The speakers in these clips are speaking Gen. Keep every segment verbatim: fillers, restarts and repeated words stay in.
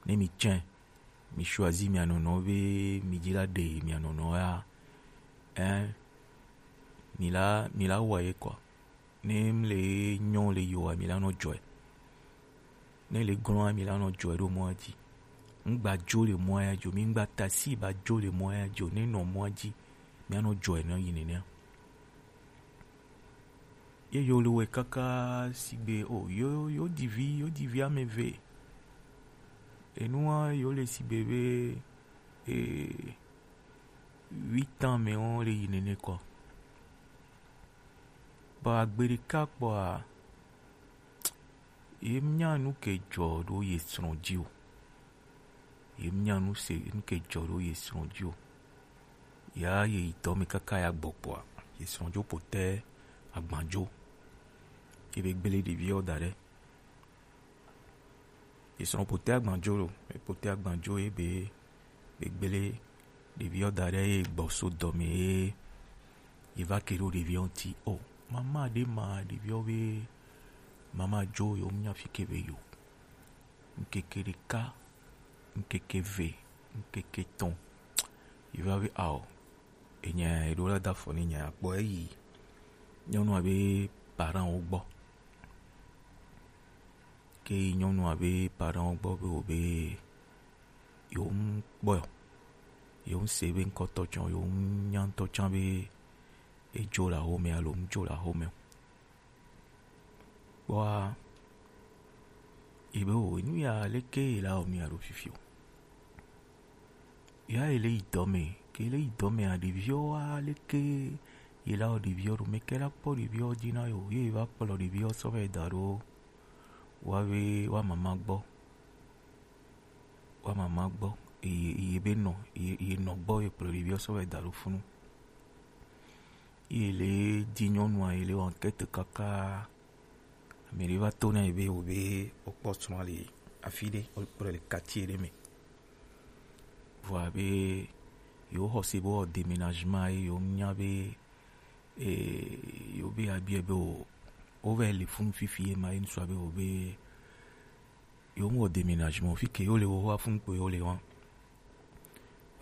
Ne mi tsɛ, mi choisi mia nɔnɔ be mi dzi la ɖe mia nɔnɔ ya, eh, mi la, mi la wɔ ye kɔ. Ne mi le nyɔ le yoa, mi la nɔ dzɔe. Ne le glɔa, mi la nɔ dzɔe ɖo mɔa dzi. Ŋgba dzo le mɔa ya dzo, mi ŋgba tasi ba dzo le mɔa ya dzo, ne nɔ mɔa dzi, mi anɔ dzɔe nɔ yi nenea. Ye yo le wɛ kaka sigbe o, yo, yo divi, yo divi ame eve. Enua yo le sigbe be, eh, huit ans me wo le yi nene kɔ. Ba gbe ɖeka kpɔa, ye nya nu ke dzɔ ɖo ye srɔ̃ dzi o. Ye nya nu se, nu ke dzɔ ɖo ye srɔ̃ dzi o. Ya ye yi dɔ me kaka ya gbɔ kpɔa, ye srɔ̃ dzo potɛ agbandzo. Ye be gbele ɖeviɔ da ɖe. Ye srɔ̃ potɛ agbandzo lo, ye potɛ agbandzo ye be, be gbele ɖeviɔ da ɖe ye gbɔ so dɔ me ye, ye va ke ɖo ɖeviɔ ŋuti. O, mama ɖe ma ɖeviɔ be, mama dzo yo nya fi ke be yo. Ŋkeke ɖeka, ŋkeke ve, ŋkeke tɔn. Yi va be ao, enya eɖo la da afɔ ne nya kpɔ eyi nyɔnua be parent wo gbɔ. Ke yi nyɔnua be parent wo gbɔ be wo be yo ŋ kpɔ yo, yo ŋ se be ŋkɔtɔ tsɔ, yo ŋ nya ŋtɔ tsã be edzo le axome alo ŋdzo le axome o. Kpɔa, yi be o, nu ya leke yi la wɔ nu ya ɖo fifi o. Ya yi le yi dɔ me, ke le yi dɔ me a ɖeviwo wa leke yi la wɔ ɖeviwo ɖo me ke la kpɔ ɖeviwo dzi na yo, ye va kplɔ ɖeviwo sɔ va yi da ɖo wa be wa mama gbɔ. Wa mama gbɔ, ye, ye be nɔ, ye, ye nɔ gbɔ ye kplɔ ɖeviwo sɔ va yi da ɖo funu. Ye le di nyɔnua, ye le wɔ enquête kaka. Ame ɖe va to na ye be wo be wo kpɔ srɔ̃a le afi ɖe, wo kplɔe le quartier ɖe me. Vɔa be yewo xɔ se be wɔ déménagement ye yewo nya be, eh, yewo be abiɛ be wo, wo va le funu fifi ye ma ye ŋsua be wo be yewo ŋwɔ déménagement fi ke yewo le wo wa funu kpo yewo le wa.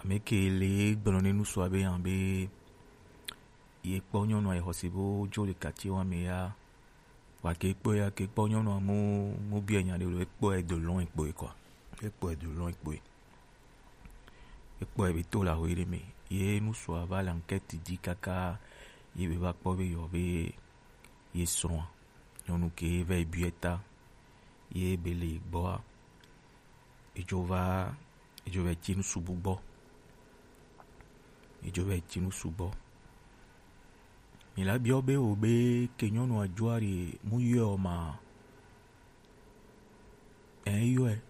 Ame ke le gblɔ ne ŋsua be yan be ye kpɔ nyɔnua ye xɔ se be wo dzo le quartier wa me ya. Wa ke kpɔe ya ke kpɔ nyɔnua mu, mu biɛ nya ɖe lo, ekpɔe de loin kpɔe quoi. Ekpɔe de loin kpɔe. Ekpɔe be to la ho ɖe me. Ye ŋsua va le enquête di kaka ye be va kpɔ be yɔ be ye srɔ̃a. Nyɔnu ke va yi biɛ ta. Ye be le gbɔa. Edzo va, edzo va yi tsi nu subu gbɔ. Edzo va yi tsi nu subu gbɔ. Mi la biɔ be wo be ke nyɔnua dzoa ɖe mu yɔe o ma. Ɛ yɔe.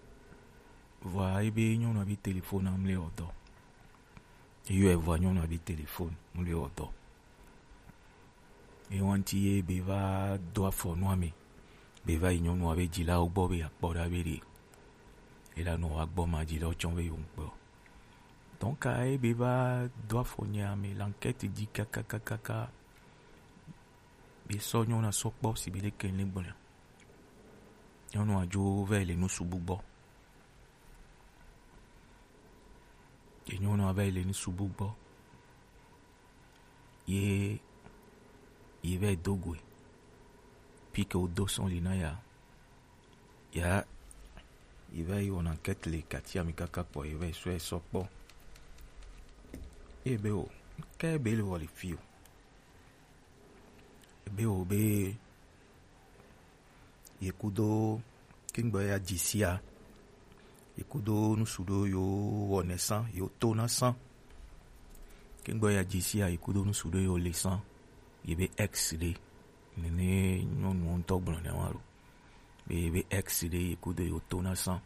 Vɔa ebe nyɔnua be téléphone amle ɔdɔ. Eyɔe vɔa nyɔnua be téléphone mle ɔdɔ. Ewa ŋuti ye be va do afɔ nua me. Be va yi nyɔnua be dzilawo gbɔ be akpɔ ɖa be ɖe ela nɔ wa gbɔ ma dzilawo tsɔ be yewo ŋkpɔ. Donc ye be va do afɔ nyea me, l'enquête di kakakakaka. Be sɔ nyɔnua sɔ kpɔ si be ɖe ke ne gblɔna. Nyɔnua dzo va yi le nu subu gbɔ. Ye nyɔnua va yi le nu subu gbɔ. Ye, ye va yi do goe. Pike wo do sɔn li na ya. Ya, ye va yi wɔna enquête le quartier a me kaka kpɔ, ye va yi sɔ ye sɔ kpɔ. Ye be o, ke be le wɔ le fi o. Ye be o be ye kudo kengbe ya dzi sia, ye kudo nusu ɖo yo wɔ nɛ sã, yo to na sã. Kengbe ya dzi sia, ye kudo nusu ɖo yo le sã, ye be ex ɖe. Nene nyɔnu ŋutɔ gblɔ nɛ wa lo. Be ye be ex ɖe ye kudo yo to na sã.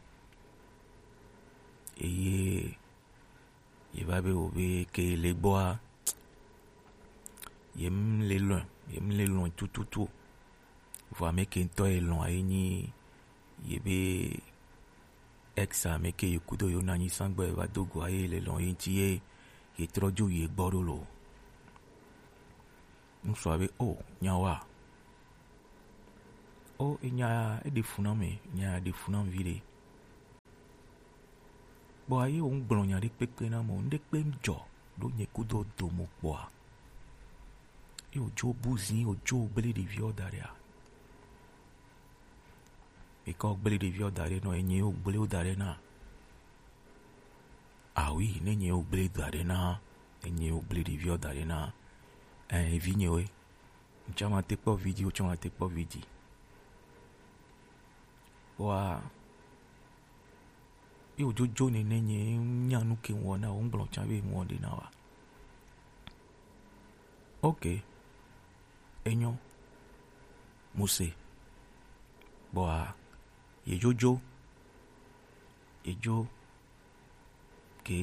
Eye ye va be wo be ke le gbɔa, ye m le lɔn, ye m le lɔn tututu o. Vɔ ame ke ŋutɔ ye lɔn ye nyi ye be ex ame ke ye kudo yo na nyi sã gbɔ ye va do go ye le lɔn ye ŋuti ye, ye trɔ dzo ye gbɔ ɖo lo. Ŋsua be o nya wa. O enya e ɖe fu na me, nya ɖe fu na vi ɖe. Kpɔa ye wo ŋgblɔ nya ɖe kpekpe na mɔ, ŋɖe kpe ŋdzɔ ɖo nye kudo do mo kpɔa. Ye wo dzo buzi, wo dzo gble ɖeviɔ da ɖe a. Ekɔ gble ɖeviɔ da ɖe nɔ, enye wo gble wo da ɖe na. Ah oui, ne nye wo gble da ɖe na, ne nye wo gble ɖeviɔ da ɖe na. Eh, vi nye we. Ŋtsɔ ma te kpɔ video, tsɔ ma te kpɔ vidi. Wa, ye wo jojo nene nye nya nu ke wɔ na wo ŋgblɔ tsa be wɔ ɖe na wa. Ok. Enyo. Muse. Bɔa, ye jojo. Ye jo. Ke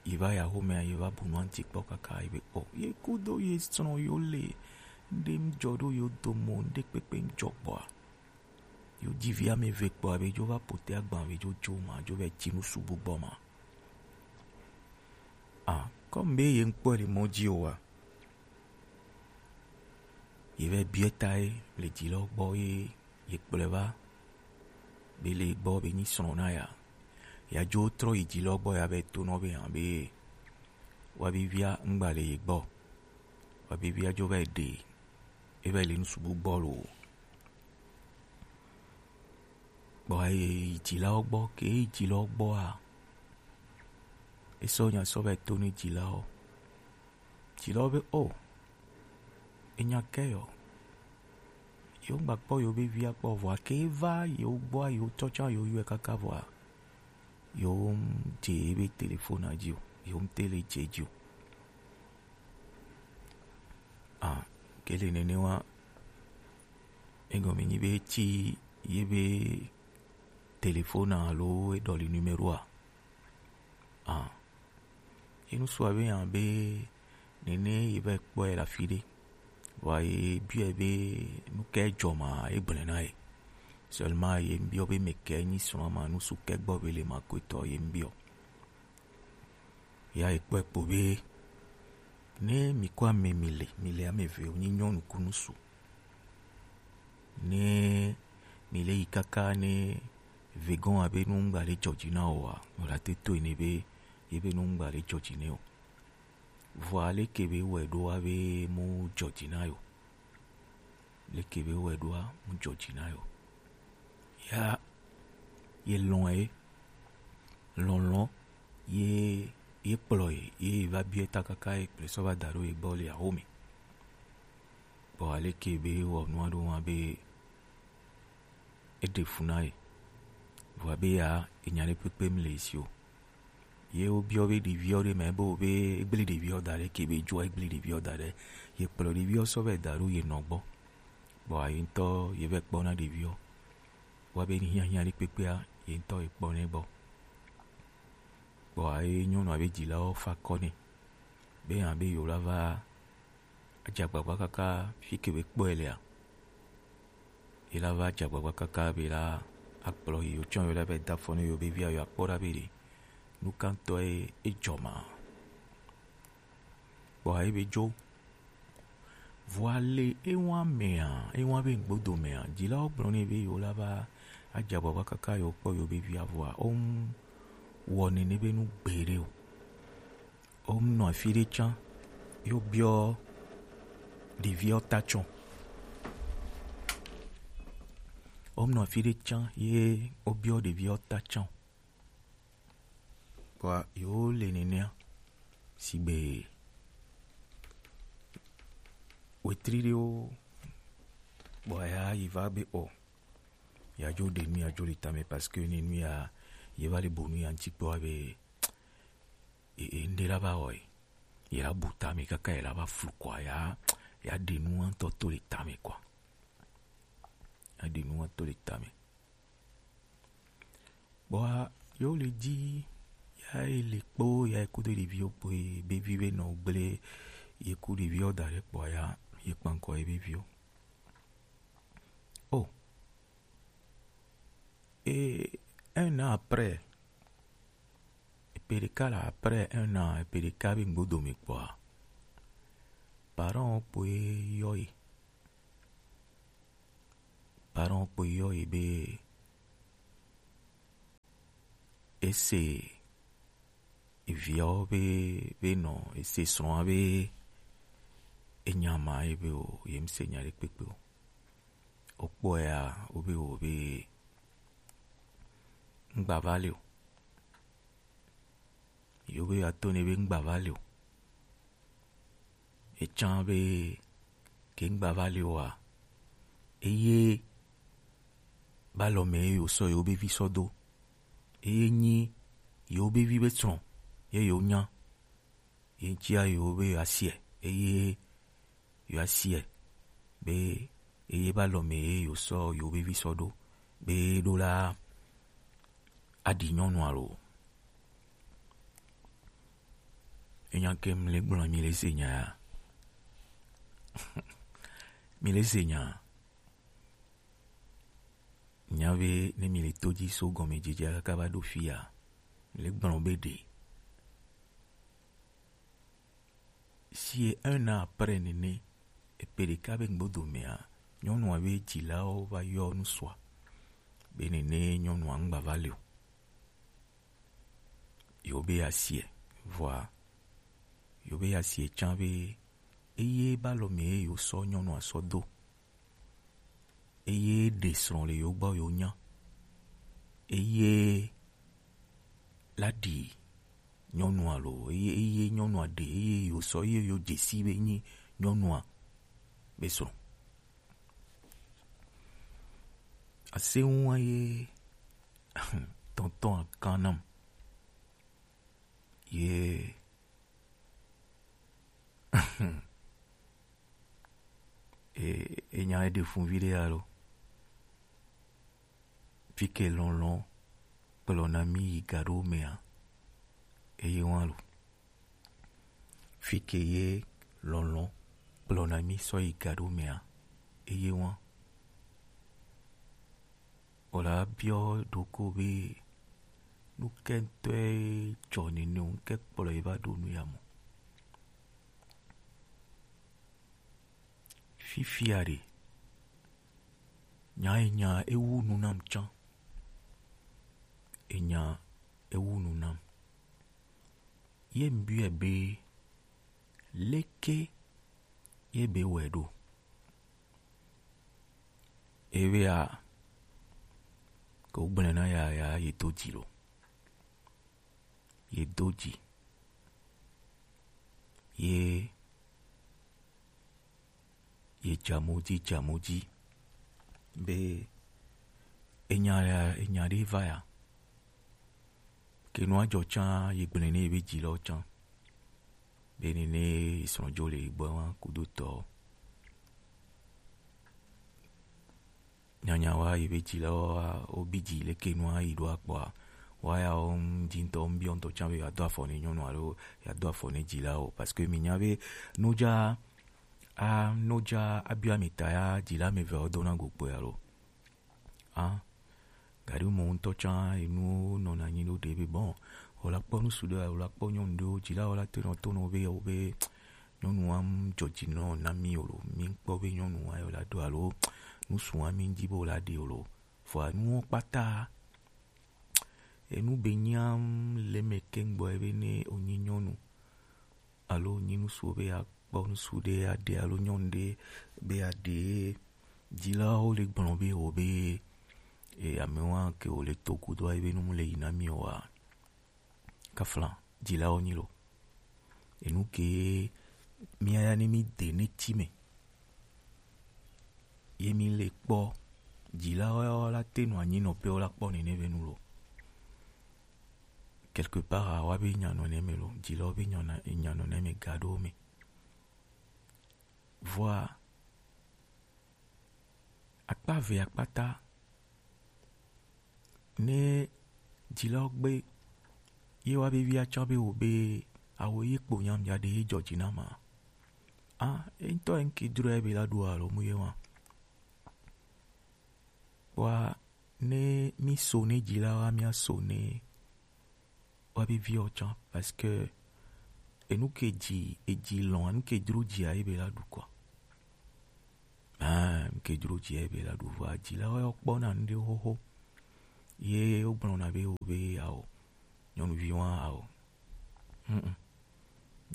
ye va ya xomea, ye va bu nua ŋuti kpɔ kaka ye be, o, ye kudo ye srɔ̃ yo le, ŋɖe ŋdzɔ ɖo yo dome o, ŋɖe kpekpe ŋdzɔ kpɔa, yo ji vi ame eve kpɔa, be jo va pote agban, be jo jo ma, jo va tsi nu subu gbɔ ma. Ah, comme be ye ŋkpɔe le mɔ ji o wa. Ye va biɔ ta ye le ji lɔ gbɔ ye ye kplɔe va be le gbɔ be nyi srɔ̃ na ya. Ya dzo trɔ yi dzi lɔ gbɔ ya be to nɔ be hã be wa be via ŋgba le ye gbɔ. Wa be via dzo va yi ɖe e va yi le nusubu gbɔ lo. Gbɔ ye yi dzi lɔ gbɔ ke yi dzi lɔ gbɔ a. E sɔ nya sɔ va yi to ni dzi lɔ. Dzi lɔ be o. Enya kɛ yɔ. Yo ŋgba kpɔ yo be via kpɔ vɔa ke va yo gbɔa yo tsɔtsɔ yo yɔe kaka vɔa. Yo ŋ dze ebe telefona dzi o. Yo ŋ tele dze dzi o. Ah, ke le nene wa. Egɔme nyi be tsi ye be telefona alo e ɖɔli numeroa. Ah. Ye nusua be hã be nene ye va kpɔe le afi ɖe. Vɔa ye biɔe be nu kae dzɔ ma e gblɔe na ye. Seulement ye ŋbiɔ be mɛ kae nyi srɔ̃a ma, nusu kae gbɔ be le ma koetɔ ye ŋbiɔ. Ya ye kpɔe kpo be ne mi ko ame mi le, mi le ame eve, wo nyi nyɔnu ku nusu. Ne mi le yi kaka ne vegɔn abe nu ŋgba ɖe dzɔ dzi na o a, o la te to ene be ye be nu ŋgba ɖe dzɔ dzi ne o. Vɔa leke be wɔ ɖoa be mu dzɔ dzi na yo. Leke be wɔ ɖoa mu dzɔ dzi na yo. Ya ye lɔn ye lɔnlɔn ye ye kplɔ ye ye va biɛ ta kaka ye kple sɔ va da ɖo ye gbɔ le awo me. Bɔ aleke be wɔ nua ɖo wa be e ɖe fu na ye. Vɔa be ya enya ɖe kpekpe mle si o. Ye wo biɔ be ɖeviɔ ɖe mɛ bo be egble ɖeviɔ da ɖe ke be joa egble ɖeviɔ da ɖe. Ye kplɔ ɖeviɔ sɔ vɛ da ɖo ye nɔ gbɔ. Bɔ ayi ŋutɔ ye vɛ kpɔ na ɖeviɔ. Wa be ni hiahiã ɖe kpekpea ye ŋutɔ ye kpɔ nɛ gbɔ. Bɔ ayi nyɔnua be dzilawo fa kɔ nɛ. Be hã be yewo la va adze agbagba kaka fi ke be kpɔe lea. Ye la va adze agbagba kaka be la akplɔ yi, wotsɔ yo la va da fɔ ne yo be via yo akpɔ ɖa be ɖe nu kantɔ ye edzɔ ma. Kpɔ ayi be dzo. Vɔa le ewa mea, ewa be ŋgbodo mea, dzilawo gblɔ nɛ be yo la va adze agbagba kaka yo kpɔ yo be via vɔa, wo ŋu wɔ nene be nu gbeɖe o. Wo ŋu nɔ afi ɖe tsã, yo biɔ ɖeviɔ ta tsɔ. Wo ŋu nɔ afi ɖe tsã ye wo biɔ ɖeviɔ ta tsɔ. Kpɔa yo le nenea sigbe wetri ɖewo kpɔa ya yi va be o ya dzo ɖe nu ya dzo le tame parce que ne nu ya ye va le bo nu ya ŋuti kpɔa be e e ŋɖe la va wɔ ye ye la bu tame kaka ye la va flu kɔa ya ya ɖe nu ŋutɔ to le tame kɔa ya ɖe nu ŋutɔ to le tame. Kpɔa yo le dzi ya ye le kpo ya ye kudo ɖeviwo kpo ye be vi be nɔ gble ye ku ɖeviwo da ɖe kpɔa ya ye kpankɔ ye be viwo. Oh. Et un an après, epe ɖeka la après un an, epe ɖeka be ŋgbodo me kpɔa, parent kpo ye yɔ ye. Parent kpo ye yɔ ye be e ese eviawo be, be nɔ, ese srɔ̃a be enya ma ye be o, ye ŋse nya ɖe kpekpe o. Wokpɔe ya, wo be o be ŋgba va li o. Yewo be yewoato nɛ be ŋgba va li o. Etsã be ke ŋgba va li oa, eye ba lɔ mɛ ye yewo sɔ yewo be vi sɔ do. Eye nyi yewo be vi be srɔ̃ ye yewo nya. Ye ŋutia yewo be yewoasiɛ, eye yewoasiɛ be eye ba lɔ mɛ ye yewo sɔ yewo be vi sɔ do be ɖo la aɖi nyɔnua lo. Enya ke mi le gblɔ, mi le se nya ya. Mi le se nya. Nya be ne mi le to dzi so gɔmedzedzea kaka va ɖo fia, mi le gblɔ be ɖe si un an après nene, eƒe ɖeka be ŋgbodo mea, nyɔnua be dzilawo va yɔ nusua be nene nyɔnua ŋgba va li o. Yewo be yeasiɛ, vɔa yewo be yeasiɛ tsã be eye ba lɔ mɛ ye yewo sɔ nyɔnua sɔ do. Eye ɖe srɔ̃ le yewo gbɔ yewo nya. Eye la ɖi nyɔnua lo, eye, eye nyɔnua ɖe, eye yewo sɔ, eye yewo dze si be nyi nyɔnua be srɔ̃. Aseŋua ye tɔntɔn akan nam. Ye e, enya eɖe fun viɖe alo. Fi ke lɔlɔ̃ kplɔna mi yi ga ɖo mea, eye wa lo. Fi ke ye lɔlɔ̃ kplɔna mi sɔ yi ga ɖo mea, eye wa. Wòle abiɔ ɖoko be nu ke ŋutɔe dzɔ nene o, nu ke kplɔe va ɖo nu ya mɔ. Fifia ɖe, nya enya ewu nu nam tsã. Enya ewu nu nam. Ye ŋbiɔe be, leke ye be wɔe ɖo? Ewea, ke wogblɔe na ya, ya ye do dzi lo. Ye do dzi. Ye, ye dza mo dzi, dza mo dzi. Be enya ya, enya ɖe va ya. Ke nua dzɔ tsã, ye gblɔe ne ye be dzilawo tsã. Be nene ye srɔ̃ dzo le gbɔ wa kudo tɔ. Nyanya wa ye be dzilawo wa, wo bi dzi leke nua yi ɖo akpɔa. Wa ya wo ŋdi ŋutɔ, ŋbiɔ ŋutɔ tsã be yeado afɔ ne nyɔnu alo yeado afɔ ne dzilawo. Parce que mi nya be nodza, a, nodza abiɔ mi ta ya dzila me ve wo dona go kpɔe alo. A, gaɖi mo ŋutɔ tsã enuwo nɔna anyi ɖo ɖe be bon, wòla kpɔ ŋsu ɖe, wòla kpɔ nyɔnu ɖewo, dzilawo la tenɔ to nɔ be yewo be nyɔnu wa ŋu dzɔ dzi nɔ na mi o lo, mi ŋkpɔ be nyɔnu wa yewo la ɖo alo ŋsu wa mi ŋdi be wòla ɖe o lo. Vɔa nuwo kpata enu be nyam le me keŋ gbɔ ebe ne wònyi nyɔnu alo wònyi ŋsu be ya kpɔ ŋsu ɖe aɖe alo nyɔnu ɖe be aɖe, dzilawo le gblɔ be wo be, e, amewa ke wo le to kudo ebe nu mu le yi na mi wa. Kafla dzilawo nyi lo. Enu ke mia ya ne mi de ne ti me. Ye mi le kpɔ dzilawo ya wo la te nɔ anyi nɔ pe wo la kpɔ nene be nu lo. Quelque part, a wa be nya nɔ ne me lo. Dzilawo be nya nɔ ne me ga ɖo me. Vɔa, akpa ve akpata, ne dzilawo gbe ye wa be via tsã be wo be awo ye kpo nyam ya ɖe ye dzɔ dzi na ma. A, e ŋutɔ e ŋke dro ya be la ɖo alo mu ye wa. Wa ne mi so ne dzilawo, mi aso ne wa be viwo tsã, parce que enu ke dzi, edzi lɔn, enu ke dro dzia ye be la ɖu kɔ. Ah, enu ke dro dzia ye be la ɖu vɔa dzilawo ya kpɔna nu ɖe xoxo. Ye wogblɔna be wo be yawo nyɔnuvi wa ao. Mm, mm.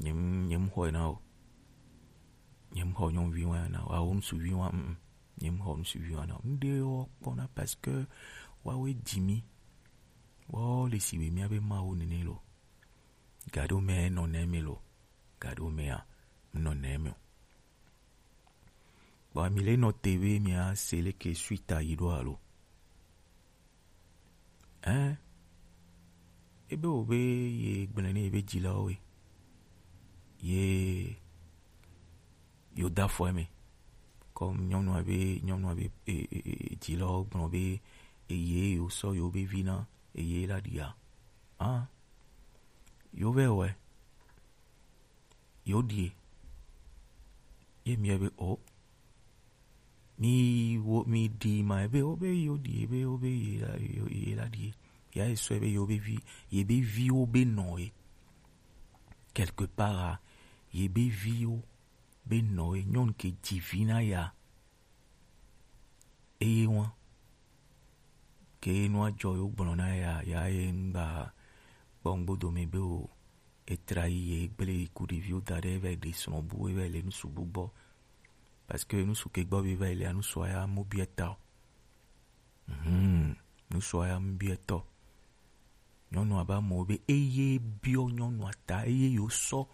Nye m-, nye m xɔe na o. Nye m xɔ nyɔnuvi wa na o. Ao, ŋsuvi wa, mm, mm. Nye m xɔ ŋsuvi wa na o. Ŋɖe wɔ kpɔna parce que wawoe dzi mi. Wɔ le si be mía be Mawu nene lo. Gaɖo mɛ nɔ nɛ mi lo. Gaɖo mɛ a, nɔ nɛ mi o. Bon, mi le nɔ te be mia se leke suite a yi ɖo alo? Hein? Ebe wo be ye gblẽ ne ye be dzilawo we. Ye yo da fɔ eme. Comme nyɔnua be, nyɔnua be, e, e, e, dzilawo gblɔ be eye yo sɔ yo be vi na eye la ɖia. Ah, yo vɛ wɛ. Yo ɖie. Ye mi be o. Mi wo, mi ɖi ma ebe o be yo ɖie, be o be ye la, yo, ye la ɖie. Ya ye sɔ ebe yo be vi, ye be viwo be nɔ ye. Quelque part, a, ye be viwo be nɔ ye. Nyɔnu ke dzi vi na ya. Eye wa ke nua jɔ yo gblɔ na ya, ya ye ŋgba kpɔ ŋgbodo me be o, etra yi ye gble yi ku ɖeviwo da ɖe, eva yi ɖe srɔ̃ bu, eva yi le nusu bu gbɔ. Parce que nusu ke gbɔ be va yi le nusu ya mo biɛ ta o. Mhm. Nusu ya mo biɛ tɔ. Nyɔnua ba mɔ be eye biɔ nyɔnua ta, eye yo sɔ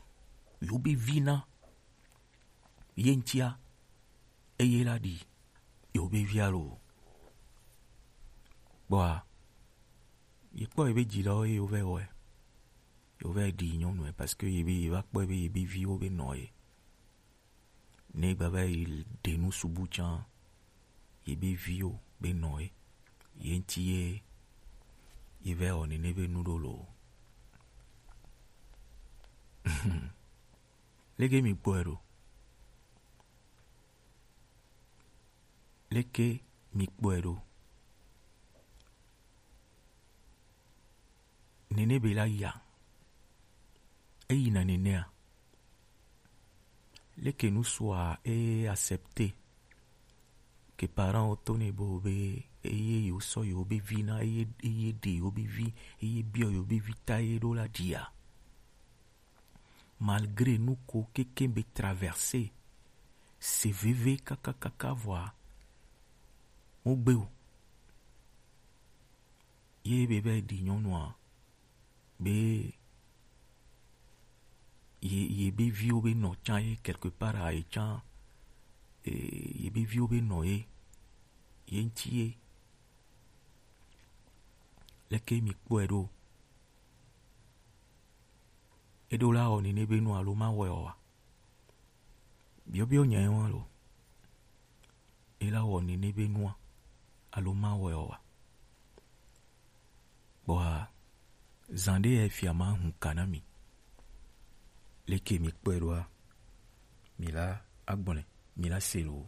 yo be vi na ye ŋtia, eye la ɖi yo be via lo. Kpɔa, ye kpɔ ye be dzilawo ye yo vɛ wɔe. Yo vɛ ɖi nyɔnue parce que ye be ye va kpɔe be ye be viwo be nɔ ye. Ne gba va yi ɖe nu subu tsã, ye be viwo be nɔ ye. Ye ŋti ye, ye vɛ wɔ nene be nu ɖo lo. Leke mi kpɔe ɖo? Leke mi kpɔe ɖo? Nene be la ya. Eyina nenea. Leke nusua e accepter que parent wo to ne bo be eye yo sɔ yo be vi na, eye, eye ɖe yo be vi, eye biɔ yo be vi ta ye ɖo la ɖia. Malgré nu ko keke be traverser, se veve kakakaka vɔa, mo gbe o. Ye be be ɖi nyɔnua, be ye, ye be viwo be nɔ tsã ye quelque part a ye tsã, eh, ye be viwo be nɔ ye, ye ŋti ye. Leke mi kpɔe ɖo? Eɖo la wɔ nene be nu alo ma wɔe o wa? Biɔbiɔ nya ye wa lo. E la wɔ nene be nua alo ma wɔe o wa? Kpɔa, zan ɖe ya fia ma hun ka na mi. Leke mi kpɔe ɖoa, mi la agblɔe, mi la se lo.